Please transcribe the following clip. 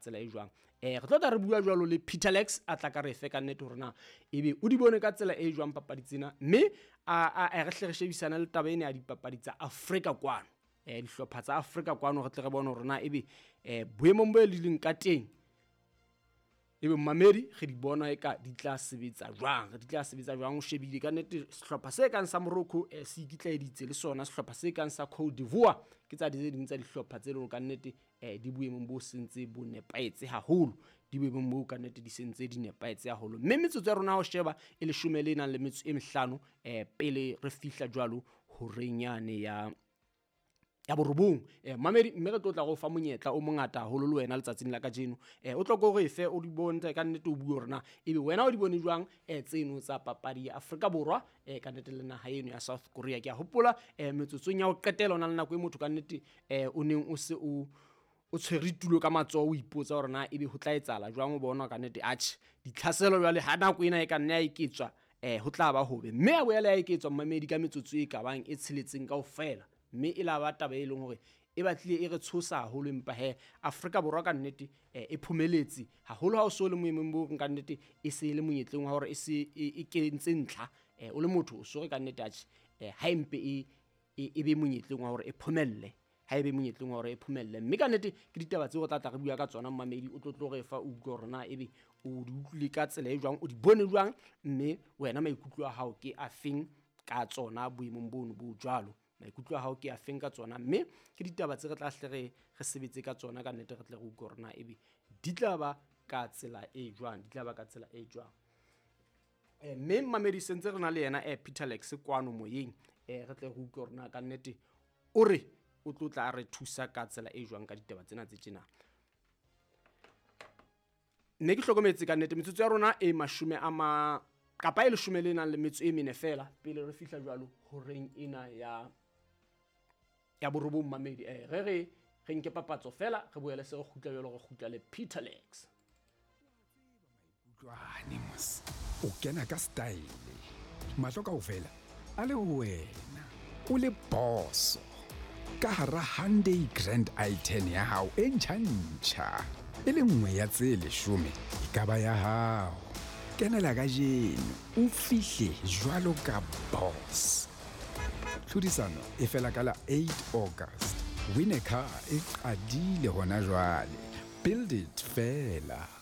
tsela e jwang. Re tlo tla re bua jwalo le Peter Lex a tla ka re fe ka nnete hore na ebe o di bone ka tsela e jwang papadi tsena, mme a re hle re shebisana le taba ena ya dipapadi tsa Afrika kwano, dihlopha tsa Afrika kwano, re tle re bone hore na ebe boemong bo e leng ka teng ebe mmamedi re di bona eka di tla sebetsa jwang, di tla sebetsa jwang. O shebile ka nnete sehlopha se kang sa Morocco se ikitlaeditse le sona sehlopha se kang sa Cote d'Ivoire ke tsa tse ding tsa dihlopha tse leng ka nnete di boemong bo sentse bo nepahetse haholo, di boemong bo ka nnete di sentse di nepahetse haholo. Mme metsotso ya rona ho sheba e leshome le nang le metso e mehlano pele re fihla jwalo horeng yane ya borobong. Mamedi, mme re tlo tla go fa monyetla o mongata haholo le wena letsatsing la kajeno. O tlo ko re fe o di bontshe ka nnete, o bue hore na ebe wena o di bone jwang tseno tsa papadi ya Afrika Borwa ka nnete le naha eno ya South Korea. Ke a hopola metsotsong ya ho qetela o na le nako e motho ka nnete o neng o se o tshwere tulo ka matsoho, o ipotsa hore na ebe ho tla etsahala jwang, o bona ka nnete atjhe ditlhaselo jwale ha nako ena e ka nna ya eketswa ho tla ba hobe, mme a boela ya eketswa mmamedi ka metsotso e ka bang e tsheletseng kaofela, mme e la ba taba e leng hore e batlile e re tshosa haholo. Empa he Afrika Borwa ka nnete e phomeletse haholo ha o so le moemong bo ka nnete e se e le monyetleng wa hore e se e kentse ntlha, o le motho o so re ka nnete atjhe ha empe e be monyetleng wa hore e phomelle, ha e be monyetleng wa hore e phomelle. Mme ka nnete ke ditaba tseo re tla tla re bua ka tsona mmamedi, o tlo re fa o utlwe hore na ebe o di utlwile ka tsela e jwang, o di bone jwang, mme wena maikutlo a hao ke a feng ka tsona boemong bono bo jwalo, maikutlo a hao ke a feng ka tsona. Mme ke ditaba tse re tla hle re sebetse ka tsona ka nnete, re tle re utlwe hore na ebe di tla ba ka tsela e jwang, di tla ba ka tsela e jwang. Mme mmamedi sentse re na le yena Peter Lex kwano moyeng, re tle re utlwe hore na ka nnete o re o tlo tla re thusa ka tsela e jwang ka ditaba tsena tse tjena. Mme ke hlokometse ka nnete metsotso ya rona e mashome a ma kapa e leshome le nang le metso e mene fela pele re fihla jwalo horeng ena ya borobong mamedi. Re re nke papatso fela re boele se re kgutla jwalo, re kgutla le Peter Lex. Utlwane mos, o kena ka style, mahlo kaofela a le ho wena, o le boso ka hara Hyundai Grand i10 ya hao e ntjha-ntjha, e le nngwe ya tse leshome e ka ba ya hao. Kenela kajeno o fihle jwalo ka boss. Tlhodisano e fela ka la 8 August. Win a car e qadile hona jwale. Build it fela.